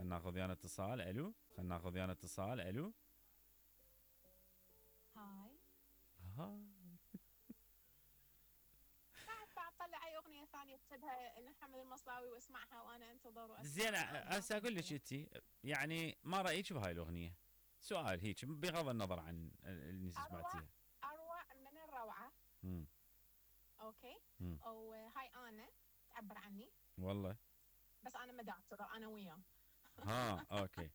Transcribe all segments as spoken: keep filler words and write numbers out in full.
خلينا ناخذ ويانا اتصال. الو، خلينا ناخذ ويانا اتصال. الو، هاي. ها بعد طلع اي اغنيه ثانيه اكتبها لمحمد المصلاوي واسمعها وانا انتظر زين، واسمعها. هسه اقول لك انت يعني ما رايك بهاي الاغنيه؟ سؤال هيك بغض النظر عن اللي اروع سمعتيها. اروع من الروعه. امم اوكي. امم وهاي انا تعبر عني. والله. بس انا مدعتره انا وياه. ها اوكي.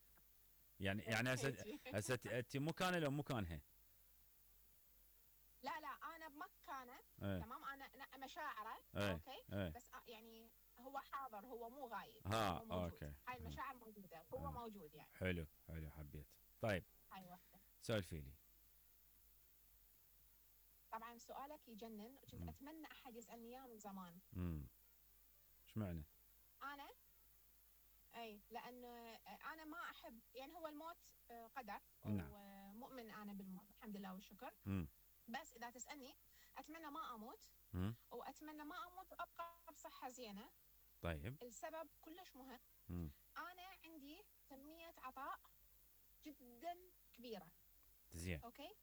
يعني يعني هسه هيجي. هسه انت مكانه لو مكانها؟ لا لا انا بمكانه. ايه تمام انا أنا مشاعره. ايه اوكي. ايه بس يعني هو حاضر، هو مو غايب، ها هو موجود. اوكي. هاي ها. المشاعر موجوده، هو ها. موجود يعني. حلو حلو، حبيت. طيب هاي واحده. سولفي لي. طبعا سؤالك يجنن، كنت امم اتمنى احد يسالني اياه من زمان. امم ايش معنى؟ انا اي لان انا ما احب يعني هو الموت قدر نعم. ومؤمن انا بالموت الحمد لله والشكر. امم بس اذا تسالني اتمنى ما اموت، امم واتمنى ما اموت وابقى بصحه زينه. طيب. السبب كلش مهم. امم انا عندي كميه عطاء جدا كبيره. زين. اوكي.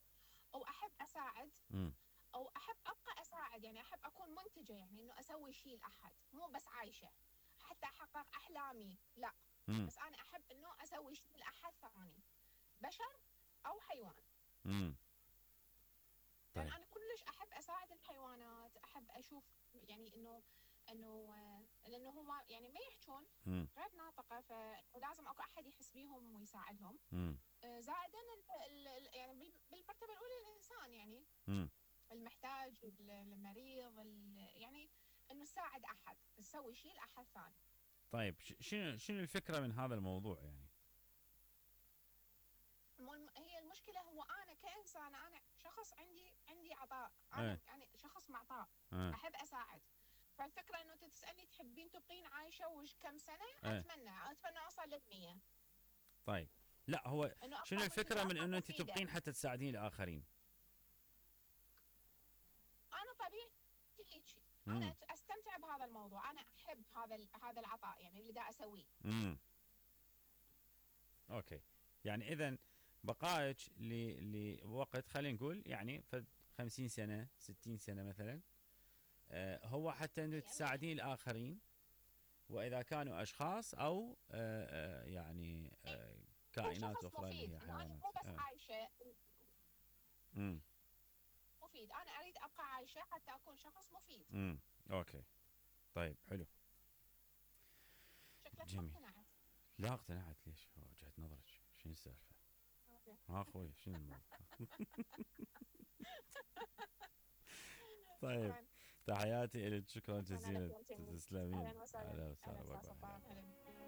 او احب اساعد، امم او احب ابقى اساعد، يعني احب اكون منتجه، يعني انه اسوي شيء لاحد، مو بس عايشه حتى احقق احلامي، لا. امم بس انا احب انه اسوي شيء لاحد ثاني، بشر او حيوان. امم لان طيب. انا كلش احب اساعد الحيوانات، احب اشوف يعني انه انه لانه هم يعني ما يحجون، امم غير ناطقه، فلازم اكو احد يحس بيهم ويساعدهم. امم آه، زائدا ال- ال- يعني بال- بالمرتبه الاولى الانسان، يعني امم المحتاج، المريض، يعني انه تساعد احد، تسوي شيء لاحد ثاني. طيب ش- شنو شنو الفكره من هذا الموضوع يعني؟ مو- هي المشكله هو انا كانسان، انا شخص عندي عندي عطاء، ايه انا يعني شخص معطاء، ايه احب اساعد. فالفكره انه انت تسالني تحبين تبقين عايشه وش كم سنه؟ ايه اتمنى اتمنى اوصل للمية. طيب. لا هو انه شنو ابقى الفكره منتجه، من ابقى انه انت مفيده. تبقين حتى تساعدين الاخرين؟ انا طبيعتي هيك، امم انا استمتع بهذا الموضوع، انا احب هذا ال- هذا العطاء يعني اللي دا اسويه. امم اوكي. يعني اذا بقائك ل- لوقت خلينا نقول يعني فد خمسين سنه ستين سنه مثلا، آه، هو حتى انه مية مية. تساعدين الاخرين، واذا كانوا اشخاص او آه، آه، يعني آه، يكون كائنات شخص اخرى اللي هي مفيد، انه انا حيوانات. مو بس آه. عايشه. امم مفيد، انا اريد ابقى عايشه حتى اكون شخص مفيد. امم اوكي. طيب حلو. شكلك ما جميل. اقتنعت. لا اقتنعت. ليش؟ وجهة نظرك شنو السالفه؟ أوكي. ها اخوي شنو الموضوع؟ طيب. شكرا. تحياتي لك، شكرا شكرا على جزيلا. كلمتين. تسلمين. اهلا وسهلا. اهلا اهلا وسهلا. باي وسهلا باي. سلطان. هلا. هلا.